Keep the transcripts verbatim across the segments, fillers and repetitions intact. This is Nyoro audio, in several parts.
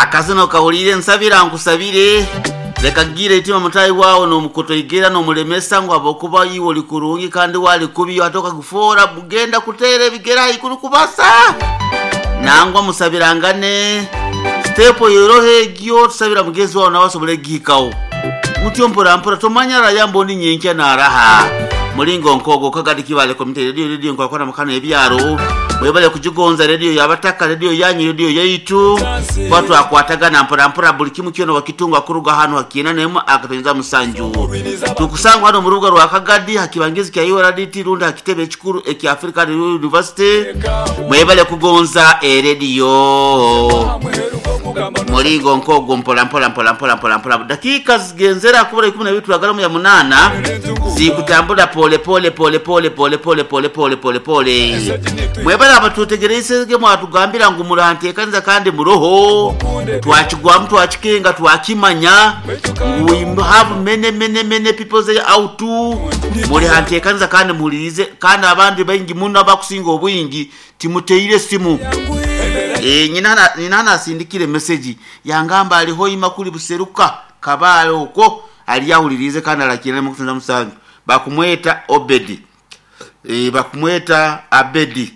Akazino kawulire nsabira nkusabire leka gira itima mutayi wawe nomukutoigera nomulemesa ngu abokuba iwe oli kurungi kandi wali kubi ate okagufora bugenda kutera ebigere haikuru kubasa nangwa musabirangane sitepu yoroho egyo tusabira mugenzi wawe nawe asobole gihikaho mutyo mpora mpora tomanya raya mboni nyenkya naraha mulingo nkogo kagadi kibale komite radio radio nkwakora mukano ebyaro mwebale kujigonza radio yabataka radio yanyu radio yaitu watu akwatagana mpora mpora buli kimu kyona wakitunga kuruga hano hakiina nemu akatonyeza musanju tukusangwa hano mu rubuga rwa kagadi hakibangizi kya U R D T runda hakitebe ekikuru ekya Africa University mwebale kugonza eradio mulingo nkogo mpola mpola mpola mpola mpola mpola dakika zigenzera kubura ikumi na bibiri turagala ya munana zikutambula pole pole pole pole pole pole pole pole pole pole mwebale abatutegereisege mwatugambira ngu muranteekaniza kandi muroho twakigwamu twakikenga twakimanya ngu we have many many many people they out muri hanteekaniza kandi muhulirize kandi abandi baingi muno abakusinga obwingi timuteire simu e, nyina nyina nasindikire message yangamba aliho imakuli buseruka kabale okwo aliyahulirize kandi alakirane mukutunza musanju bakumweta Obedi e, bakumweta Abedi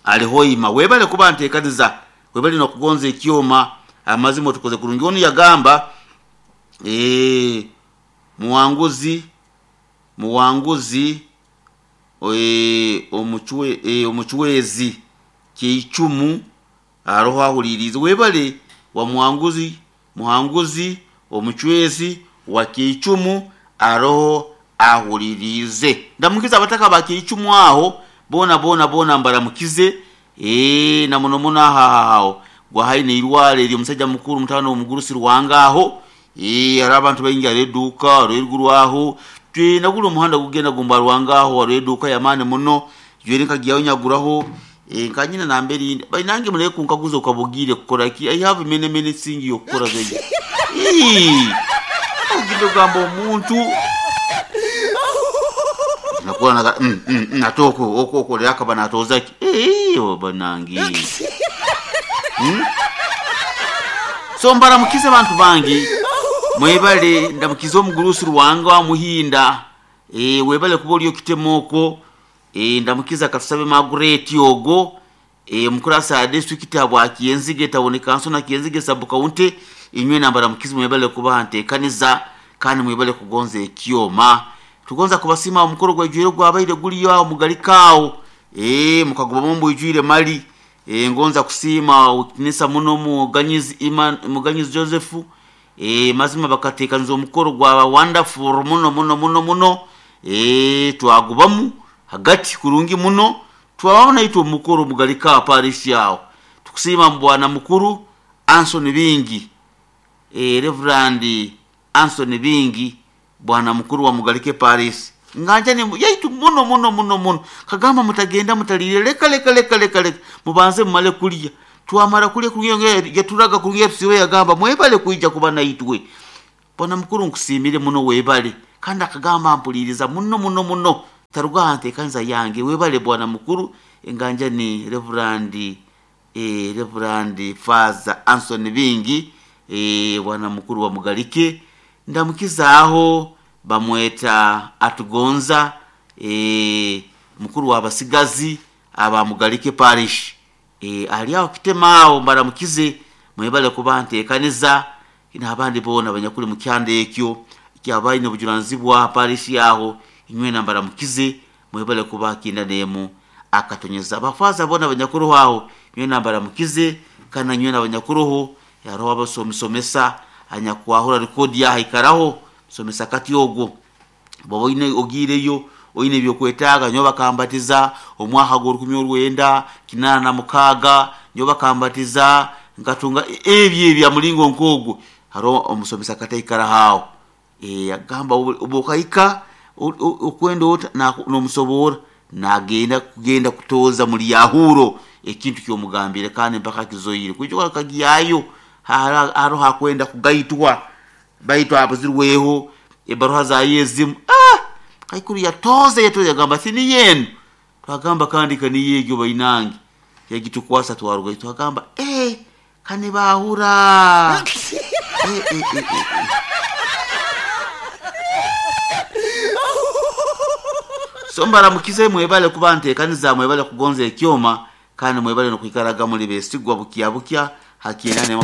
alihoima webale kuba ntekaniza webale nokugonza ekyoma amazima tukoze kurungi onu yagamba e, muwanguzi muwanguzi e, omuchwe e, omuchwezi kyeicumu aroho ahulirize webale wa muwanguzi muhanguzi omuchwezi wa kyeicumu aroho ahulirize ndamukiza abataka ba kyeicumu aho bona bona bona mbaramukize eh na muno muno ahahaho gwahaine irwale eri omusajja mukuru mutano omugurusi rwangaho eh ari abantu baingi areduka rwerugurwaho twina guli omuhanda gugenda gumba rwangaho areduka yamane muno jwere nkagiyaho nyaguraho eh nkanyina namberi bainange mure kunkaguza ukabugire kukora ki I have many many things yokukora zeje eh gamba omuntu nakuwa na mm, mm, mm, atoko oko oko leka bana atozaki eh banangi hmm? So mbaramukize abantu bangi mwebale ndamukize omugurusi rwanga wa muhinda eh webale kuba oliyo kitemoko eh ndamukiza katusabe Margaret ogo eh mukurasa ya district abwa Kienzige tawone kanso na Kienzige sub county inywe nambara mukize mwebale kuba ntekaniza kandi mwebale kugonza ekyoma tugonza kubasima omukoro gwejwire gwabaire guliyo awo mugalikawo eh mukagoba mumbu ijwire mali eh ngonza kusima ukinisa muno muganyizi Iman muganyizi Joseph eh mazima bakatekaniza omukoro gwa wonderful muno muno muno muno eh twagubamu hagati kurungi muno twabona itwe omukoro mugalika parish yawo tukusima mbwana mukuru Anson Bingi eh Reverend Anson Bingi bwana mukuru wa Mugalike Paris nganja ni yaitu muno muno muno muno kagamba mutagenda mutalire leka leka leka leka leka mubanze mumale kulya twamara kulya kulya yaturaga kulya tusiwe yagamba mwebale kuija kuba naitwe bwana mukuru nkusimire muno webale kandi akagamba mpuliriza muno muno muno taruga ante kanza yange webale bwana mukuru enganja ni Reverend eh Reverend Father Anson Bingi eh bwana mukuru wa Mugalike ndamukizaaho bamweta atugonza e, mukuru w'abasigazi aba Mugalike parish e, ali aho kitemaawo mbaramukize mwebale kuba nteekaniza n'abandi boona abanyakuli mu kyanda ekyo kyabaine obujunaanizibwa parish yaho inywe nambaramukize mwebale kuba kinda nemu akatonyeza abafaza boona abanyakuru aho inywe nambaramukize kana nywe n'abanyakuruho yaroho abasomisomesa anyakwahura rekodi yahaikaraho somesa kati ogwo bwoba oine ogiireyo oine ebyokwetaaga nyo bakambatiza omwaka gw'orukumi orwenda kinaana na mukaaga nyo bakambatiza nkatunga ebyo ebya mulingo nk'ogwo hariho omusomesa kataikara haawo e, agamba obukaika okwenda ota n'omusoboora nagenda kugenda kutoza muri yahuro ekintu kyomugambire kandi mpaka kizoire kwijo kagiyayo haro hakwenda kugaitwa baitwa abuzirweho ebaruha za yezimu ah kaikuru yatoze yatoze yagamba sini yenu twagamba kandi kani yegyo bainange yagitukwasa twaruga twagamba eh Kanibahura. Eh, eh, eh, eh. So mbaramukize, mwebale kuba ntekaniza, mwebale kugonza ekyoma, kandi mwebale nokwikaraga muli besigwa bukya bukya hakienane.